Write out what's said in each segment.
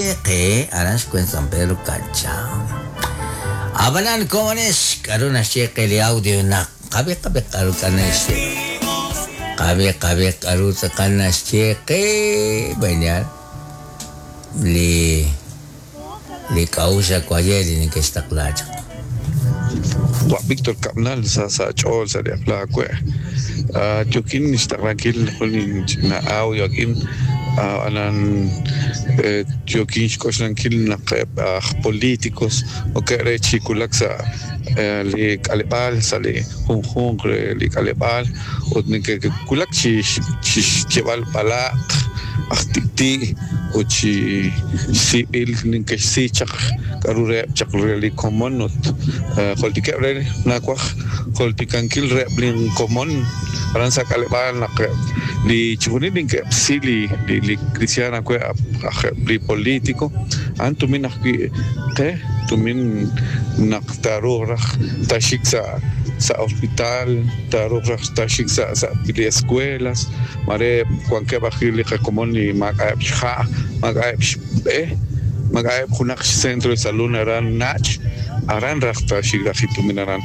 naxye qe aran xwen San Pedro Cancha. Ab'anan komonex k'aru naxye qe li audio naq qab'i qab'i k'aru k'a naxye. Qab'i qab'i k'aru tz'aqal naxye qe mañana li li k'a'uxl awaye li neke'xtaqla chaq. Wa' Víctor Cabnal sa sa' ch'ool sa' li aqla we'. Yookin xtaqlankil jun inch'ina audio a'in ab'anan yookin xk'oxlankil naq eb' aj políticos okeb' re chi wulak sa' li k'aleb'aal sa' li junjunq re li k'aleb'aal ut neke'wulak chi xyeeb'al b'alaq', aj tik'ti' ut chi siib'il neke'xsi chaq k'aru reheb' chaq re li komon ut joltikeb' re nawaj joltikankil reheb' linkomon aran sa' k'aleb'aal naq li chixjunil neke'xsi li li kristiaan awe' aj eb' li politico a'an tumin ajwi' qe tumin naq taaruuq raj taaxik sa' sa' hospital taaruuq raj taaxik sa' sa' li escuelas mare wankeb' ajwi' li qakomon li maak'a'eb' xha' maak'a'eb' xb'e maak'a'eb' junaq xcentro de salud aran nach' aran raj taaxik raj li tumin aran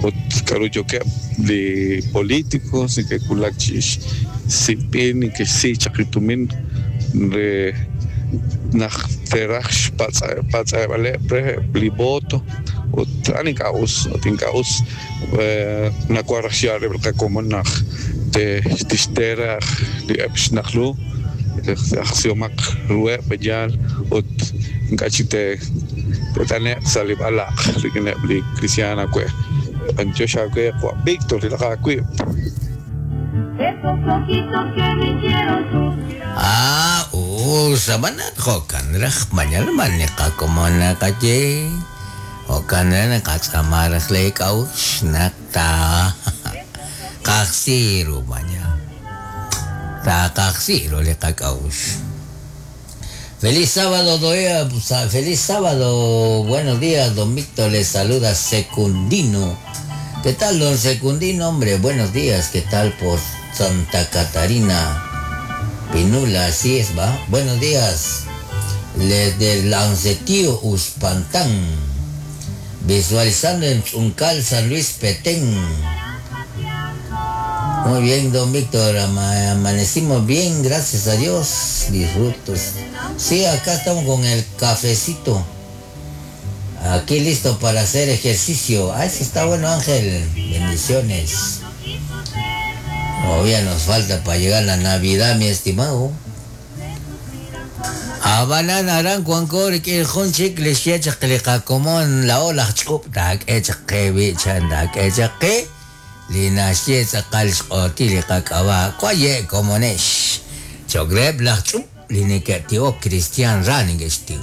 ut k'aru yookeb' li políticos neke'wulak chi xsib'il neke'xsi chaq li tumin re naq te'raj xpatz'eb'aleb' reheb' li voto ut a'an ink'a' us ut ink'a' us nawaj raj xyaal reheb' li qakomon naq tixte raj li eb' xnaq ru ajsihomaq ruheb' yaal ut ink'a' chik te't'ane'q sa' li b'alaq' rik'ineb' li kristiaan awe'. B'antiox aawe qawa' Víctor rilaq aawib'. Ah, us, ab'anan jo'kan raj mañana man li qakomon naqaye. Jo'kan raj naqatz'aama raj lee k'a'uxl naq taaqajsi ru mañana. Taaqajsi ru li qak'a'uxl. Feliz sábado, doea, feliz sábado, buenos días, don Víctor, les saluda Secundino. ¿Qué tal, don Secundino? Hombre, buenos días, ¿qué tal por Santa Catarina? Pinula, así es, va. Buenos días, desde Lancetío, Uspantán. Visualizando en Chuncal, San Luis Petén. Muy bien, don Víctor, amanecimos bien, gracias a Dios. Disfrutos. Sí, acá estamos con el cafecito. Aquí listo para hacer ejercicio. Ah, eso está bueno, Ángel. Bendiciones. Todavía nos falta para llegar a la Navidad, mi estimado. Ab'anan aran wanko rik'in jun chik li xye chaq li qakomon laa'o laj ch'ub' taak'e chaq qe b'i' chan taak'e chaq qe li naxye tz'aqal xq'otil li qak'ab'a' waye' komonex cho'q reheb' laj ch'ub' li neke'tiwok kristiaan ra neke'xtiw.